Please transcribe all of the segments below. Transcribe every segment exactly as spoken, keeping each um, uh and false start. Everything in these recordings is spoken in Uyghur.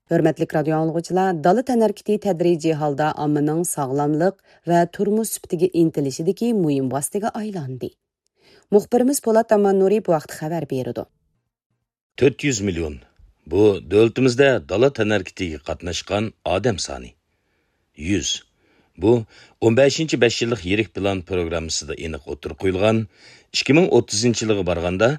ھۆرمەتلىك رادىيو ئاڭلىغۇچىلار، دالا تەنھەرىكىتى تەدرىجىي ھالدا ئاممىنىڭ ساغلاملىق ۋە تۇرمۇش سۈپىتىگە ئىنتىلىشىدىكى مۇھىم ۋاسىتىگە ئايلاندى. مۇخبىرىمىز پولات ئاماننۇرى بۇ ھەقتە خەۋەر بېرىدۇ. تۆت يۈز مىليون. بۇ دۆلىتىمىزدە دالا تەنھەرىكىتىگە قاتناشقان ئادەم سانى. يۈز. بۇ ئون بەشىنچى بەش يىللىق يىرىك پىلان پروگراممىسىدا ئېنىق ئوتتۇرىغا قويۇلغان، ئىككى مىڭ ئوتتۇزىنچى يىلغا بارغاندا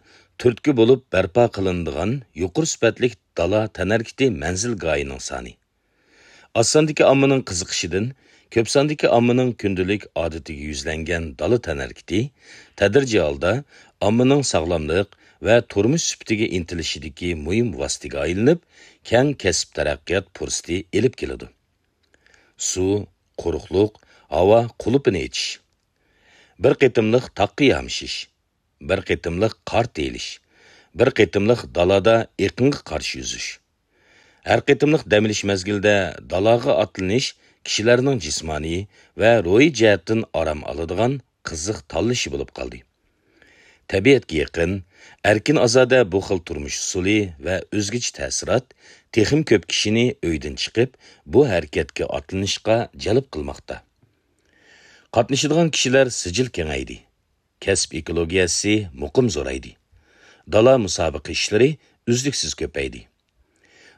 تۈرتكە بولۇپ بەرپا قىلىنىدىغان يۇقىرى سۈپەتلىك دالا تەنھەرىكىتى مەنزىلگاھىنىڭ سانى. ئاز ساندىكى ئاممىنىڭ قىزىقىشىدىن كۆپ ساندىكى ئاممىنىڭ كۈندىلىك ئادىتىگە يۈزلەنگەن دالا تەنھەرىكىتى تەدرىجىي ھالدا ئاممىنىڭ ساغلاملىق ۋە تۇرمۇش سۈپىتىگە ئىنتىلىشىدىكى مۇھىم ۋاسىتىگە ئايلىنىپ، كەڭ كەسىپ تەرەققىيات پۇرسىتى ئېلىپ كېلىدۇ. سۇ، قۇرۇقلۇق، ھاۋا قۇلۇپىنى ئېچىش، بىر قېتىملىق تاغقا يامىشىش، بىر قېتىملىق قار تېيىلىش، بىر قېتىملىق دالادا ئېقىنغا قارشى يۈزۈش. ھەر قېتىملىق دەم ئېلىش مەزگىلىدە دالاغا ئاتلىنىش كىشىلەرنىڭ جىسمانىي ۋە روھىي جەھەتتىن ئارام ئالىدىغان قىزىق تاللىشى بولۇپ قالدى. تەبىئەتكە يېقىن، ئەركىن-ئازادە بۇ خىل تۇرمۇش ئۇسۇلى ۋە ئۆزگىچە تەسىرات تېخىمۇ كۆپ كىشىنى ئۆيدىن چىقىپ، بۇ ھەرىكەتكە ئاتلىنىشقا جەلپ قىلماقتا. قاتنىشىدىغان كىشىلەر سىجىل كېڭەيدى. كەسىپ ئېكولوگىيەسى مۇقىم زورايدى. دالا مۇسابىقە ئىشلىرى ئۈزلۈكسىز كۆپەيدى.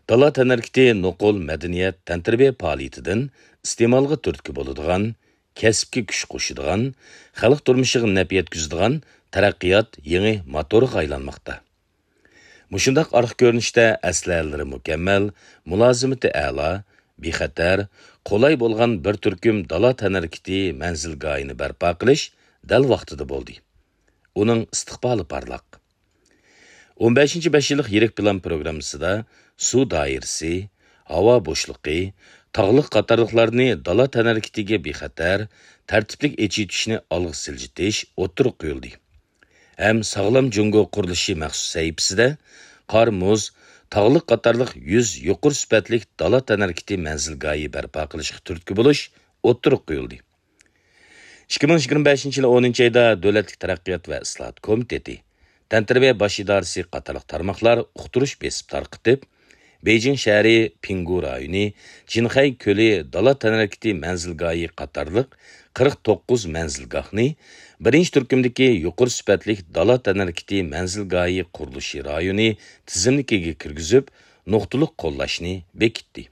دالا تەنھەرىكىتى نوقۇل مەدەنىيەت، تەنتەربىيە پائالىيىتىدىن ئىستېمالغا تۈرتكە بولىدىغان، كەسىپكە كۈچ قوشىدىغان، خەلق تۇرمۇشىغا نەپ يەتكۈزىدىغان تەرەققىيات يېڭى موتورىغا ئايلانماقتا. مۇشۇنداق ئارقا كۆرۈنۈشتە ئەسلىھەلىرى مۇكەممەل، مۇلازىمىتى ئەلا، بىخەتەر، قولاي بولغان بىر تۈركۈم دالا تەنھەرىكىتى مەنزىلگاھىنى بەرپا قىلىش دەل ۋاقتىدا بولدى. ئۇنىڭ ئىستىقبالى پارلاق. ئون بەشىنچى بەش يىللىق يىرىك پىلان پروگراممىسىدا سۇ دائىرىسى، ھاۋا بوشلۇقى، تاغلىق قاتارلىقلارنى دالا تەنھەرىكىتىگە بىخەتەر، تەرتىپلىك ئېچىۋېتىشنى ئالغا سىلجىتىش ئوتتۇرىغا قويۇلدى. ھەم ساغلام جۇڭگو قۇرۇلۇشى مەخسۇس سەھىپىسىدە قار، مۇز، تاغلىق قاتارلىق يۈز يۇقىرى سۈپەتلىك دالا تەنھەرىكىتى مەنزىلگاھى بەرپا قىلىشقا تۈرتكە بولۇش ئوتتۇرىغا قويۇلدى. ئىككى مىڭ يىگىرمە بەشىنچى يىلى ئونىنچى ئايدا دۆلەتلىك تەرەققىيات ۋە ئىسلاھات كومىتېتى، تەنتەربىيە باش ئىدارىسى قاتارلىق تارماقلار ئۇقتۇرۇش بېسىپ تارقىتىپ، بېيجىڭ شەھىرى پىڭگۇ رايونى، جىنخەي كۆلى دالا تەنھەرىكىتى مەنزىلگاھى قاتارلىق قىرىق توققۇز مەنزىلگاھنى بىرىنچى تۈركۈمدىكى يۇقىرى سۈپەتلىك دالا تەنھەرىكىتى مەنزىلگاھى قۇرۇلۇشى رايونى تىزىملىكىگە كىرگۈزۈپ، نۇقتىلىق قوللاشنى بېكىتتى.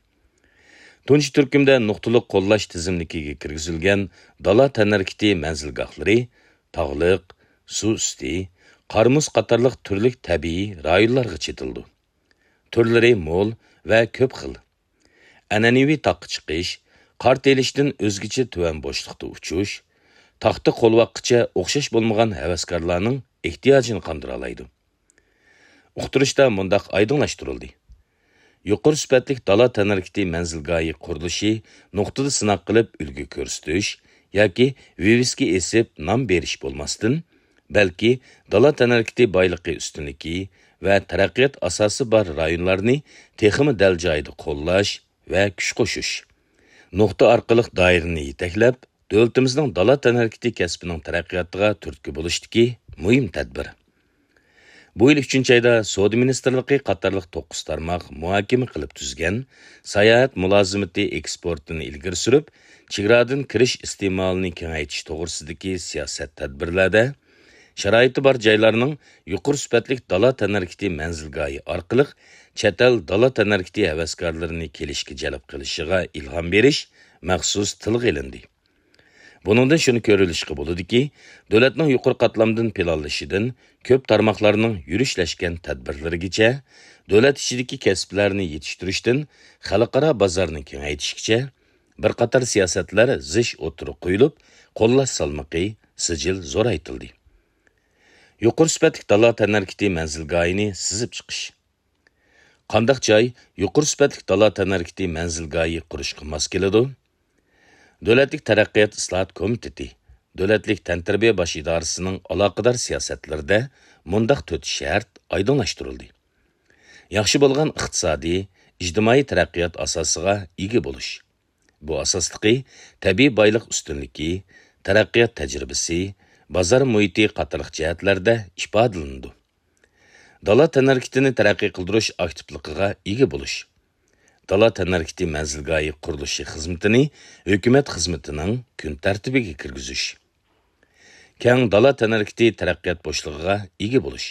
تۇنجى تۈركۈمدە نۇقتىلىق قوللاش تىزىملىكىگە كىرگۈزۈلگەن دالا تەنھەرىكىتى مەنزىلگاھلىرى تاغلىق، سۇ ئۈستى، قار-مۇز قاتارلىق تۈرلۈك تەبىئىي رايونلارغا چېتىلىدۇ. تۈرلىرى مول ۋە كۆپ خىل. ئەنئەنىۋى تاغقا چىقىش، قار تېيىلىشتىن ئۆزگىچە تۆۋەن بوشلۇقتا ئۇچۇش، تاغتا قولۋاققىچە ئوخشاش بولمىغان ھەۋەسكارلارنىڭ ئېھتىياجىنى قاندۇرالايدۇ. ئۇقتۇرۇشتا مۇنداق ئايدىڭلاشتۇرۇلدى: يۇقىرى سۈپەتلىك دالا تەنھەرىكىتى مەنزىلگاھى قۇرۇلۇشى نۇقتىدا سىناق قىلىپ ئۈلگە كۆرسىتىش ياكى ۋىۋىسكا ئېسىپ نام بېرىش بولماستىن، بەلكى دالا تەنھەرىكىتى بايلىقى ئۈستۈنلۈكى ۋە تەرەققىيات ئاساسى بار رايونلارنى تېخىمۇ دەل جايىدا قوللاش ۋە كۈچ قوشۇش، نۇقتا ئارقىلىق دائىرىنى يېتەكلەپ، دۆلىتىمىزنىڭ دالا تەنھەرىكىتى كەسپىنىڭ تەرەققىياتىغا تۈرتكە بولۇشتىكى مۇھىم تەدبىر. بۇ يىل ئۈچىنچى ئايدا سودا مىنىستىرلىقى قاتارلىق توققۇز تارماق مۇھاكىمە قىلىپ تۈزگەن ساياھەت مۇلازىمىتى ئېكسپورتىنى ئىلگىرى سۈرۈپ، چېگرادىن كىرىش ئىستېمالىنى كېڭەيتىش توغرىسىدىكى سىياسەت تەدبىرلەردە، شارائىتى بار جايلارنىڭ يۇقىرى سۈپەتلىك دالا تەنھەرىكىتى مەنزىلگاھى ئارقىلىق چەت ئەل دالا تەنھەرىكىتى ھەۋەسكارلىرىنى كېلىشكە جەلپ قىلىشىغا ئىلھام بېرىش مەخسۇس تىلغا ئېلىندى. بۇنىڭدىن شۇنى كۆرۈۋېلىشقا بولىدۇكى، دۆلەتنىڭ يۇقىرى قاتلامدىن پىلانلىشىدىن كۆپ تارماقلارنىڭ يۈرۈشلەشكەن تەدبىرلىرىگىچە، دۆلەت ئىچىدىكى كەسىپلەرنى يېتىشتۈرۈشتىن خەلقئارا بازارنى كېڭەيتىشكىچە، بىر قاتار سىياسەتلەر زىچ ئوتتۇرىغا قويۇلۇپ، قوللاش سالمىقى سىجىل زورايتىلدى. يۇقىرى سۈپەتلىك دالا تەنھەرىكىتى مەنزىلگاھىنى سىزىپ چىقىش. قانداق جاي يۇقىرى سۈپەتلىك دالا تەنھەرىكىتى مەنزىلگاھى قۇرۇشقا ماس كېلىدۇ؟ دۆلەتلىك تەرەققىيات ئىسلاھات كومىتېتى، دۆلەتلىك تەنتەربىيە باش ئىدارىسىنىڭ ئالاقىدار سىياسەتلىرىدە مۇنداق تۆت شەرت ئايدىڭلاشتۇرۇلدى: ياخشى بولغان ئىقتىسادىي، ئىجتىمائىي تەرەققىيات ئاساسىغا ئىگە بولۇش. بۇ ئاساستىقى تەبىئىي بايلىق ئۈستۈنلۈكى، تەرەققىيات تەجرىبىسى، بازار مۇھىتى قاتارلىق جەھەتلەردە ئىپادىلىنىدۇ. دالا تەنھەرىكىتىنى تەرەققىي قىلدۇرۇش ئاكتىپلىقىغا ئىگە بولۇش. دالا تەنھەرىكىتى مەنزىلگاھى قۇرۇلۇشى خىزمىتىنى ھۆكۈمەت خىزمىتىنىڭ كۈن تەرتىپىگە كىرگۈزۈش. كەڭ دالا تەنھەرىكىتى تەرەققىيات بوشلۇقىغا ئىگە بولۇش.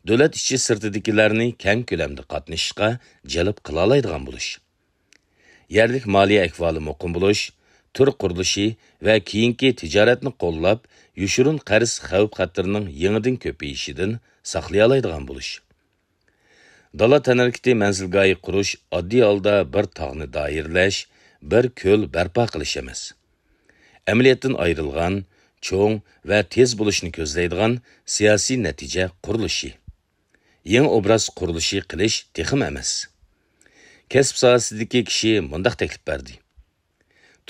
دۆلەت ئىچى سىرتىدىكىلەرنى كەڭ كۆلەمدە قاتنىشىشقا جەلپ قىلالايدىغان بولۇش. يەرلىك مالىيە ئەھۋالى مۇقىم بولۇش، تۈر قۇرۇلۇشى ۋە كېيىنكى تىجارەتنى قوللاپ، يوشۇرۇن قەرز خەۋپ-خەتىرىنىڭ يېڭىدىن كۆپىيىشىدىن ساقلىيالايدىغان بولۇش. دالا تەنھەرىكىتى مەنزىلگاھى قۇرۇش ئاددىي ھالدا بىر تاغنى دائىرىلەش، بىر كۆل بەرپا قىلىش ئەمەس. ئەمەلىيەتتىن ئايرىلغان، چوڭ ۋە تېز بولۇشنى كۆزلەيدىغان سىياسىي نەتىجە قۇرۇلۇشى. يېڭى ئوبراز قۇرۇلۇشى قىلىش تېخىمۇ ئەمەس. كەسىپ ساھەسىدىكى كىشى مۇنداق تەكلىپ بەردى: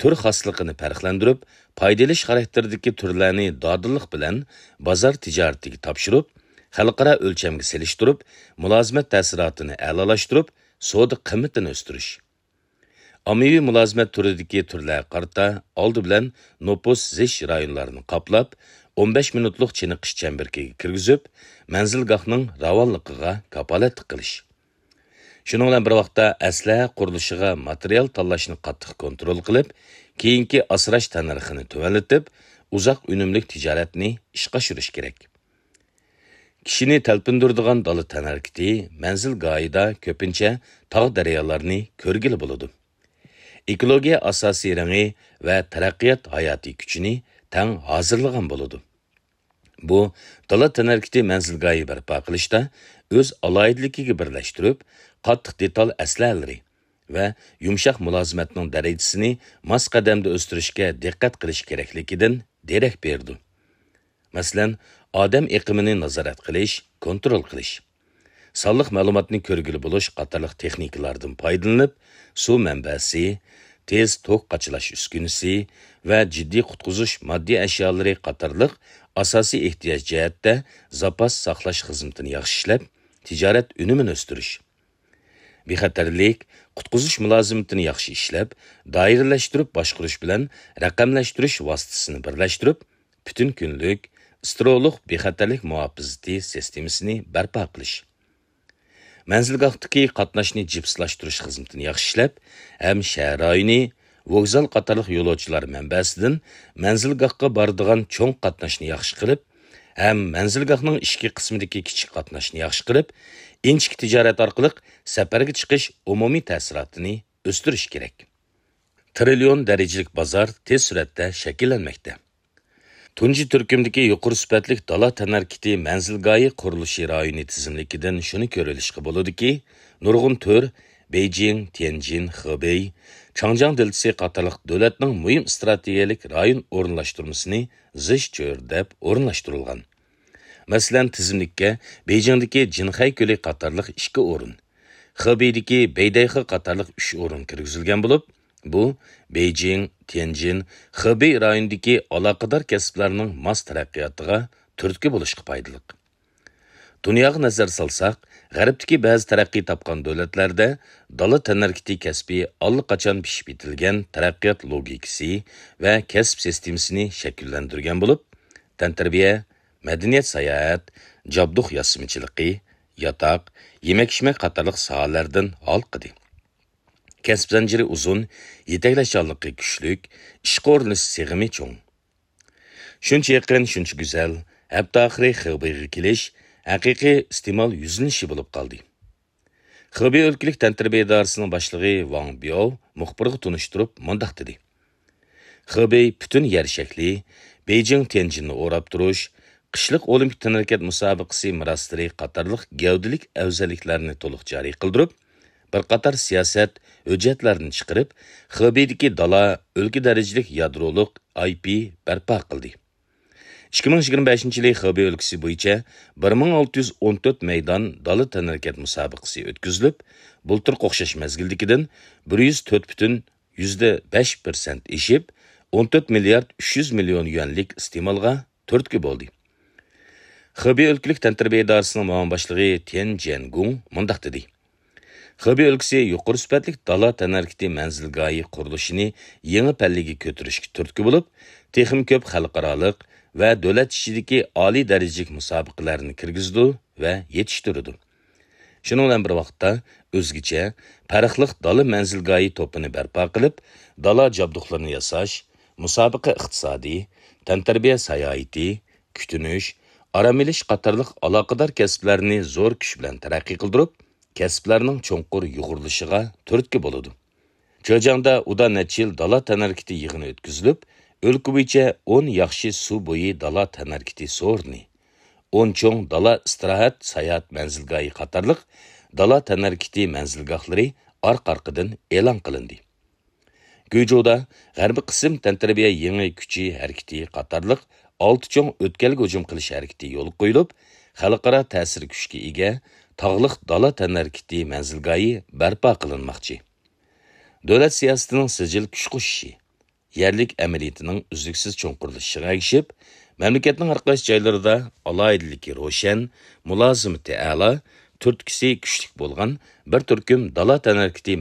تۈر خاسلىقىنى پەرقلەندۈرۈپ، پايدا ئېلىش خاراكتېرىدىكى تۈرلەرنى دادىللىق بىلەن بازار تىجارىتىگە تاپشۇرۇپ، خەلقئارا ئۆلچەمگە سېلىشتۇرۇپ، مۇلازىمەت تەسىراتىنى ئەلالاشتۇرۇپ، سودا قىممىتىنى ئۆستۈرۈش. ئاممىۋى مۇلازىمەت تۈرىدىكى تۈرلەرگە قارىتا ئالدى بىلەن نوپۇس زىچ رايونلارنى قاپلاپ، ئون بەش مىنۇتلۇق چېنىقىش چەمبىرىكىگە كىرگۈزۈپ، مەنزىلگاھنىڭ راۋانلىقىغا كاپالەتلىك قىلىش. شۇنىڭ بىلەن بىر ۋاقىتتا، ئەسلىھە قۇرۇلۇشىغا ماتېرىيال تاللاشنى قاتتىق كونترول قىلىپ، كېيىنكى ئاسراش تەننەرخىنى تۆۋەنلىتىپ، ئۇزاق ئۈنۈملۈك تىجارەتنى ئىشقا ئاشۇرۇش كېرەك. كىشىنى تەلپۈندۈرىدىغان دالا تەنھەرىكىتى مەنزىلگاھىدا كۆپىنچە تاغ-دەريالارنى كۆرگىلى بولىدۇ. ئېكولوگىيە ئاساسىي رېڭى ۋە تەرەققىيات ھاياتىي كۈچىنى تەڭ ھازىرلىغان بولىدۇ. بۇ دالا تەنھەرىكىتى مەنزىلگاھى بەرپا قىلىشتا ئۆز ئالاھىدىلىكىگە بىرلەشتۈرۈپ، قاتتىق دېتال ئەسلىھەلىرى ۋە يۇمشاق مۇلازىمەتنىڭ دەرىجىسىنى ماس قەدەمدە ئۆستۈرۈشكە دىققەت قىلىش كېرەكلىكىدىن دېرەك بېرىدۇ. مەسىلەن، ئادەم ئېقىمىنى نازارەت قىلىش، كونترول قىلىش، سانلىق مەلۇماتنى كۆرگىلى بولۇش قاتارلىق تېخنىكىلاردىن پايدىلىنىپ، سۇ مەنبەسى، تېز توك قاچىلاش ئۈسكۈنىسى ۋە جىددىي قۇتقۇزۇش ماددىي ئەشيالىرى قاتارلىق ئاساسىي ئېھتىياج جەھەتتە زاپاس ساقلاش خىزمىتىنى ياخشى ئىشلەپ، تىجارەت ئۈنۈمىنى ئۆستۈرۈش. بىخەتەرلىك، قۇتقۇزۇش مۇلازىمىتىنى ياخشى ئىشلەپ، دائىرىلەشتۈرۈپ باشقۇرۇش بىلەن رەقەملەشتۈرۈش ۋاسىتىسىنى بىرلەشتۈرۈپ، پۈتۈن كۈنلۈك، ئىسترولۇق بىخەتەرلىك مۇھاپىزىتى سىستېمىسىنى بەرپا قىلىش. مەنزىلگاھتىكى قاتناشنى جىپسلاشتۇرۇش خىزمىتىنى ياخشى ئىشلەپ، ھەم شەھەر رايونى، ۋوگزال قاتارلىق يولۇچىلار مەنبەسىدىن مەنزىلگاھقا بارىدىغان چوڭ قاتناشنى ياخشى قىلىپ، ھەم مەنزىلگاھنىڭ ئىچكى قىسمىدىكى كىچىك قاتناشنى ياخشى قىلىپ، ئىنچىكە تىجارەت ئارقىلىق سەپەرگە چىقىش ئومۇمىي تەسىراتىنى ئۆستۈرۈش كېرەك. تىرىليون دەرىجىلىك بازار تېز سۈرئەتتە شەكىللەنمەكتە. تۇنجى تۈركۈمدىكى يۇقىرى سۈپەتلىك دالا تەنھەرىكىتى مەنزىلگاھى قۇرۇلۇشى رايونى تىزىملىكىدىن شۇنى كۆرۈۋېلىشقا بولىدۇكى، نۇرغۇن تۈر بېيجىڭ، تيەنجىن، خېبېي، چاڭجياڭ دېلتىسى قاتارلىق دۆلەتنىڭ مۇھىم ئىستراتېگىيەلىك رايون ئورۇنلاشتۇرمىسىنى زىچ چۆرىدەپ ئورۇنلاشتۇرۇلغان. مەسىلەن، تىزىملىككە بېيجىڭدىكى جىنخەي كۆلى قاتارلىق ئىككى ئورۇن، خېبېيدىكى بەيدەيخې قاتارلىق ئۈچ ئورۇن كىرگۈزۈلگەن بولۇپ، بۇ بېيجىڭ، تيەنجىن، خېبېي رايونىدىكى ئالاقىدار كەسىپلەرنىڭ ماس تەرەققىياتىغا تۈرتكە بولۇشقا پايدىلىق. دۇنياغا نەزەر سالساق، غەربتىكى بەزى تەرەققىي تاپقان دۆلەتلەردە دالا تەنھەرىكىتى كەسپى ئاللىقاچان پىشىپ يېتىلگەن تەرەققىيات لوگىكىسى ۋە كەسىپ سىستېمىسىنى شەكىللەندۈرگەن بولۇپ، تەنتەربىيە، مەدەنىيەت ساياھەت، جابدۇق ياسىمىچىلىقى، ياتاق، يېمەك-ئىچمەك قاتارلىق ساھەلەردىن ھالقىدى. كەسىپ زەنجىرى ئۇزۇن، يېتەكلەشچانلىقى كۈچلۈك، ئىشقا ئورۇنلىشىش سىغىمى چوڭ. شۇنچە يېقىن، شۇنچە گۈزەل، ھەپتە ئاخىرى خېبېيغا كېلىش ھەقىقىي ئىستېمال يۈزلىنىشى بولۇپ قالدى. خېبېي ئۆلكىلىك تەنتەربىيە ئىدارىسىنىڭ باشلىقى ۋاڭ بياۋ مۇخبىرغا تونۇشتۇرۇپ مۇنداق دېدى: خېبېي پۈتۈن يەر شەكلى، بېيجىڭ تيەنجىننى ئوراپ تۇرۇش، قىشلىق ئولىمپىك تەنھەرىكەت مۇسابىقىسى مىراسلىرى قاتارلىق گەۋدىلىك ئەۋزەللىكلەرنى تولۇق جارى قىلدۇرۇپ، بىر قاتار سىياسەت، ھۆججەتلەرنى چىقىرىپ، خېبېيدىكى دالا ئۆلكە دەرىجىلىك يادرولۇق ئاي پى بەرپا قىلدى. ئىككى مىڭ يىگىرمە بەشىنچى يىلى خېبېي ئۆلكىسى بويىچە بىر مىڭ ئالتە يۈز ئون تۆت مەيدان دالا تەنھەرىكەت مۇسابىقىسى ئۆتكۈزۈلۈپ، بۇلتۇرقى ئوخشاش مەزگىلدىكىدىن بىر يۈز تۆت پۈتۈن يۈزدە بەش پىرسەنت ئېشىپ، ئون تۆت مىليارد ئۈچ يۈز مىليون يۈەنلىك ئىستېمالغا تۈرتكە بولدى. خېبېي ئۆلكىلىك تەنتەربىيە ئىدارىسىنىڭ مۇئاۋىن باشلىقى تيەن جيەنگۇڭ مۇنداق دېدى: خېبېي ئۆلكىسى يۇقىرى سۈپەتلىك دالا تەنھەرىكىتى مەنزىلگاھى قۇرۇلۇشىنى يېڭى پەللىگە كۆتۈرۈشكە تۈرتكە بولۇپ، تېخىمۇ كۆپ خەلقئارالىق ۋە دۆلەت ئىچىدىكى ئالىي دەرىجىلىك مۇسابىقىلەرنى كىرگۈزىدۇ ۋە يېتىشتۈرىدۇ. شۇنىڭ بىلەن بىر ۋاقىتتا، ئۆزگىچە پەرقلىق دالا مەنزىلگاھى توپىنى بەرپا قىلىپ، دالا جابدۇقلىرىنى ياساش، مۇسابىقە ئىقتىسادى، تەنتەربىيە ساياھىتى، كۈتۈنۈش، ئارام ئېلىش قاتارلىق ئالاقىدار كەسىپلەرنى زور كۈچ بىلەن تەرەققىي قىلدۇرۇپ، كەسىپلەرنىڭ چوڭقۇر يۇغۇرۇلۇشىغا تۈرتكە بولىدۇ. جېجياڭدا ئۇدا نەچچە يىل دالا تەنھەرىكىتى يىغىنى ئۆتكۈزۈلۈپ، ئۆلكە بويىچە ئون ياخشى سۇ بويى دالا تەنھەرىكىتى سورۇنى، ئون چوڭ دالا ئىستىراھەت ساياھەت مەنزىلگاھى قاتارلىق دالا تەنھەرىكىتى مەنزىلگاھلىرى ئارقا-ئارقىدىن ئېلان قىلىندى. گۇيجۇدا غەربىي قىسىم تەنتەربىيە يېڭى كۈچى ھەرىكىتى قاتارلىق ئالتە چوڭ ئۆتكەلگە ھۇجۇم قىلىش ھەرىكىتى يولغا قويۇلۇپ، خەلقئارا تەسىر كۈچكە ئىگە تاغلىق دالا تەنھەرىكىتى مەنزىلگاھى بەرپا قىلىنماقچى. دۆلەت سىياسىتىنىڭ سىجىل كۈچ قوشۇشى، يەرلىك ئەمەلىيىتىنىڭ ئۈزلۈكسىز چوڭقۇرلىشىشىغا ئەگىشىپ، مەملىكەتنىڭ ھەر قايسى جايلىرىدا ئالاھىدىلىكى روشەن، مۇلازىمىتى ئەلا، تۈرتكىسى كۈچلۈك بولغان بىر تۈركۈم دالا تەنھەرىكىتى